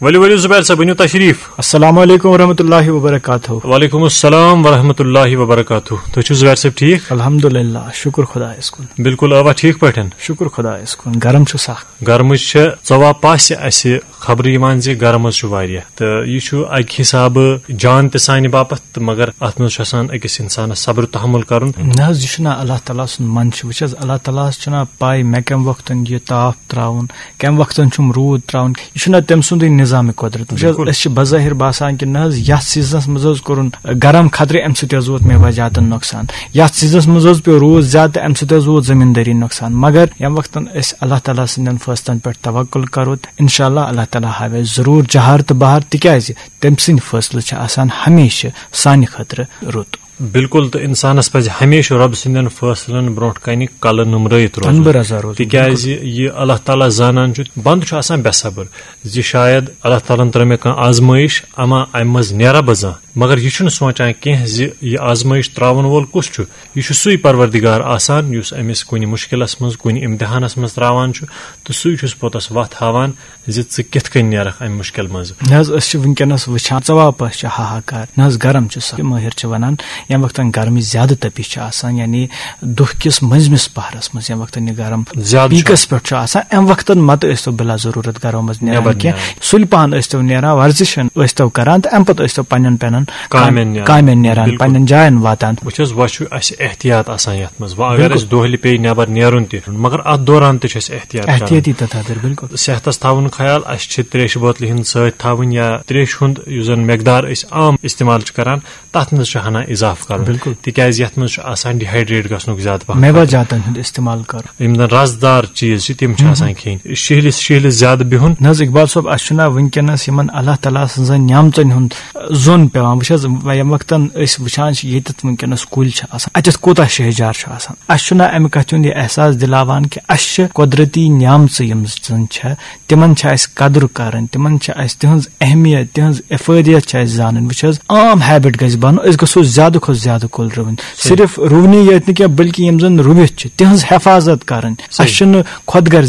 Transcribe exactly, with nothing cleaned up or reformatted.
ؤلِو ؤلِو زُبیر صٲب، ؤنِو تشریٖف۔ السلام علیکم ورحمۃ اللہ وبرکاتہ۔ وعلیکم السلام ورحمۃ اللہ وبرکاتہ۔ تُہۍ چھِو زُبیر صٲب ٹھیٖک؟ الحمدللہ، شُکُر خۄدایَس کُن۔ بِلکُل، ٲوا ٹھیٖک پٲٹھۍ؟ شُکُر خۄدایَس کُن، گرم چھُ سخ۔ گرمٕچ چھِ ژۄوا پاسہِ اَسہِ خبرٕ یِوان زِ گرم حظ چھُ واریاہ، تہٕ یہِ چھُ اَکہِ حسابہٕ جان تہِ سانہِ باپتھ، تہٕ مگر اَتھ منٛز چھُ آسان أکِس اِنسانَس صبر تحمل کَرُن۔ نہ حظ، یہِ چھُنہ اللہ تعالیٰ سُنٛد منشہٕ۔ وٕچھ حظ، اللہ تعالیٰ ہَس چھُنہ پَے مےٚ کَمہِ وقتَن یہِ تاپھ ترٛاوُن، کَمہِ وقتَن چھُم روٗد ترٛاوُن۔ یہِ چھُنہ تٔمۍ سُنٛدُے نظامِ قۄدرت۔ وٕچھ حظ، بِلکُل۔ أسۍ چھِ بظٲہِر باسان کہِ نہ حظ، یَتھ سیٖزنَس منٛز حظ کوٚرُن گرم خطرٕ، اَمہِ سۭتۍ حظ ووت مےٚ وجاتَن نۄقصان۔ یَتھ سیٖزنَس منٛز حظ پیوٚو روٗد زیادٕ، تہٕ اَمہِ سۭتۍ حظ ووت زٔمیٖندٲری نۄقصان۔ مگر ییٚمہِ وقتَن أسۍ اللہ تعالیٰ سٕنٛدٮ۪ن فٲصلَن پٮ۪ٹھ توکل کَرو، تہٕ اِنشاء اللہ، اللہ تعالیٰ ہاوِ اَسہِ ضروٗر جہار تہٕ بہار، تِکیٛازِ تٔمۍ سٕنٛدۍ فٲصلہٕ چھِ آسان ہمیشہِ سانہِ خٲطرٕ رُت۔ بِلکُل، تہٕ اِنسانَس پَزِ ہمیشہِ رۄب سٕنٛدٮ۪ن فٲصلَن برونٛٹھ کَنہِ کَلہٕ نُمرٲیِتھ روزُن۔ تَنبہٕ رَزا روزُن، تِکیٛازِ بِلکُل۔ یہِ اللہ تعالیٰ زانان چھُ، بنٛدٕ چھُ آسان بے صبر زِ شاید اللہ تعالیٰ ہَن ترٲو مےٚ کانٛہہ آزمٲیِش، اما اَمہِ منٛز نیرا بہٕ زانٛہہ۔ مگر یہِ چھُنہٕ سونٛچان کینٛہہ زِ یہِ آزمٲیِش ترٛاوَن وول کُس چھُ۔ یہِ چھُ سُے پروردگار آسان، یُس أمِس کُنہِ مُشکِلَس منٛز، کُنہِ اِمتِحانَس منٛز ترٛاوان چھُ، تہٕ سُے چھُس پوٚتُس وَتھ ہاوان زِ ژٕ کِتھ کٔنۍ نیرَکھ اَمہِ مُشکِل منٛزٕ۔ نہ حظ، أسۍ چھِ وٕنکیٚنَس وٕچھان، ژۄوا پٔہہ چھِ ہاہاکار۔ نہ حظ، گرم چھُ سخ۔ مٲہِر چھِ وَنان، ییٚمہِ وقتَن گرمٕچ زیادٕ تٔپِش چھِ آسان، یعنی دۄہ کِس مٔنٛزمِس پَہرَس منٛز، ییٚمہِ وقتَن یہِ گرم زیادٕ چھُ پیٖکَس پٮ۪ٹھ چھُ آسان، اَمہِ وقتَن مَتہٕ ٲسۍتو بِلا ضروٗرت گرو منٛز نیران نٮ۪بَر کینٛہہ۔ نیران۔ سُلہِ پَہَن ٲسۍتو نیران، ورزِش ٲسۍتو کران، تہٕ اَمہِ پَتہٕ ٲسۍتو پنٛنٮ۪ن پنٛنٮ۪ن کامٮ۪ن کامٮ۪ن نیران۔ کامٮ۪ن نیران، بِلکُل۔ پنٛنٮ۪ن جایَن واتان۔ وٕچھ حظ، وۄنۍ چھُ اَسہِ احتیاط آسان یَتھ منٛز۔ وۄنۍ اگر بِلکُل۔ اَسہِ دۄہلہِ پیٚیہِ نٮ۪بَر نیرُن تہِ، مگر اَتھ دوران تہِ چھُ اَسہِ احتیاط کَرُن۔ احتیاطی تدابیر، بِلکُل۔ صحتَس تھاوُن خیال، اَسہِ چھِ ترٛیشہِ بوتلہِ ہِنٛز سۭتۍ تھاوٕنۍ یا ترٛیشہِ ہُنٛد یُس زَن مقدار أسۍ عام استعمال چھِ کران، تَتھ منٛز چھُ ہنا اضافہٕ کَرُن۔ بِلکُل۔ تِکیٛازِ یَتھ منٛز چھُ آسان dehydrate گژھنُک زیادٕ پَہَم مٮ۪وٕ خطرٕ۔ جاتَن ہُنٛد استعمال کَرُن۔ یِم زَن رَسدار چیٖز چھِ، تِم چھِ ہُم۔ آسان کھیٚنۍ۔ شِہلِس، شِہلِس زیادٕ بِہُن۔ نہ حظ، اقبال صٲب، اَسہِ چھُنہ وٕنکیٚنَس یِمَن اللہ تعالیٰ سٕنٛزَن نعمژَن ہُنٛد زوٚن پٮ۪وان۔ وٕچھ حظ، ییٚمہِ وقتَن أسۍ وٕچھان چھِ، ییٚتٮ۪تھ وٕنکیٚنَس کُلۍ چھِ آسان، اَتٮ۪تھ کوٗتاہ شہجار چھُ آسان۔ اَسہِ چھُنہ اَمہِ کَتھِ ہُنٛد یہِ احساس دِلاوان کہِ اَسہِ چھِ قۄدرٔتی نعمژٕ یِم زَن چھےٚ، تِمَن چھِ اَسہِ قدٕر کَرٕنۍ، تِمَن چھِ اَسہِ تِہٕنٛز اہمیت، تِہٕنٛز افٲدیت چھِ اَسہِ زانٕنۍ۔ وٕچھ حظ، عام habit گژھِ بَنُن، أسۍ گژھو زیادٕ کھۄتہٕ زیادٕ کُلۍ رُوٕنۍ۔ صحیح۔ صرف رُونی یٲتۍ نہٕ کینٛہہ، بلکہِ یِم زَن رُوِتھ چھِ، تِہٕنٛز حفاظت کَرٕنۍ۔ صحیح۔ اَسہِ چھُنہٕ خۄد غرض